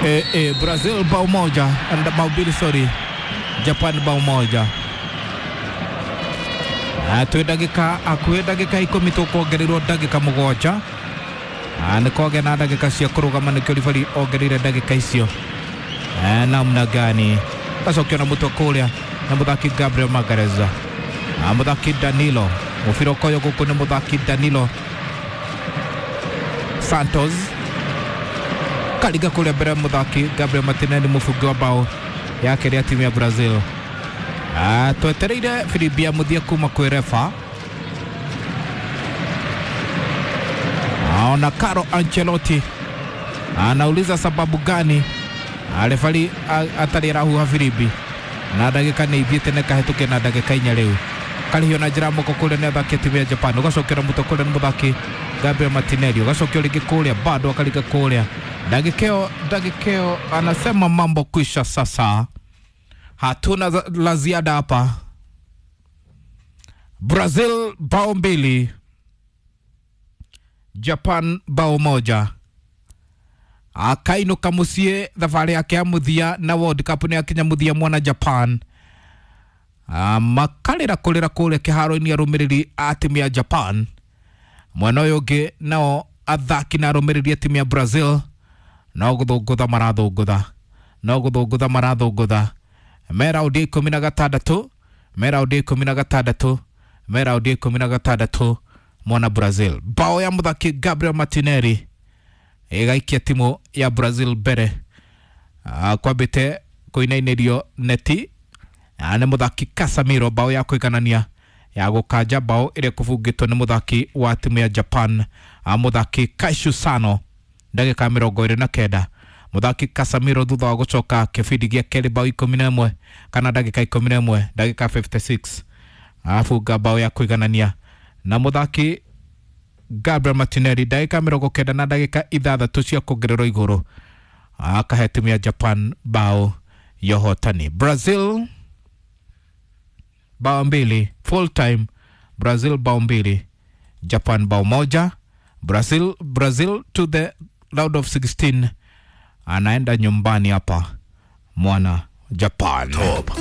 Brazil bao moja bao mbili, sorry, Japan bao moja. Twĩ ndagĩka hakuhĩ ndagĩka 10 tũkuongererwo ndagĩka 7. Nĩ kwagĩa na ndagĩka cia kũrũgama nĩkĩo ribari ongereire ndagĩka icio. Namna gani gacokio na mũtwe kũrĩa na mũthaki Gabriel Magalhaes, mũthaki Danilo, mũbira ũkoywo gũkũ nĩ mũthaki Danilo Santos karinga kũrĩa mbere mũthaki Gabriel Martinelli mũbungi wa bao yake rĩa timu ya Brazil. Twetereire firimbi ya mũthia kuma kwĩ refa. Ona Carlo Ancelotti anauliza sababu gani refari atarĩ arahuha firimbi na ndagĩka nĩ ithiĩte na ĩkahĩtũkia na ndagĩka 4 rĩu. Karĩhio na njĩra moko kũrĩa nĩ athaki a timu ya Japan, ũgacokera mũtwe kũrĩa nĩ mũthaki Gabriel Martinelli, ũgacokio rĩngĩ kũrĩa bado akaringa kũrĩa. Ndagĩka ĩyo anasema mambo kwisha sasa, hatuna la ziada hapa. Brazil bao 2, Japan bao 1. Akainũka mũciĩ thabarĩ yake ya mũthia na World Cup nĩ akinya mũthia mwana Japan. Makarĩra kũrĩra kũrĩa kĩharo-inĩ arũmĩrĩri a timu ya Japan. Mwena ũyũ ũngĩ nao athaki na arũmĩrĩri a timu ya Brazil no gũthũngũtha marathũngũtha, no gũthũngũtha marathũngũtha. Me raundi ya 16, me raundi ya 16, me raundi ya 16 mwana Brazil. Bao ya mũthaki Gabriel Martinelli ĩgaikia timu ya Brazil mbere. Kwambĩte kũinainĩrio neti nĩ mũthaki Casemiro, bao ya kũiganania ya gũkanja bao ĩrĩa kũbungĩtwo nĩ mũthaki wa timu ya Japan, mũthaki Kaishu Sano ndagĩka 29. Mũthaki Casemiro thutha wa gũcoka kĩbindi gĩa kerĩ bao 11 kana ndagĩka 11 ndagĩka 56 abunga bao ya kũiganania na mũthaki Gabriel Martinelli ndagĩka 90 na ndagĩka 6 cia kuongererwo igũrũ akahe timu ya Japan bao ya ũhotani. Brazil bao 2 full time, Brazil bao 2, Japan bao 1. Brazil to the round of 16, anaenda nyumbani hapa mwana Japan. Top.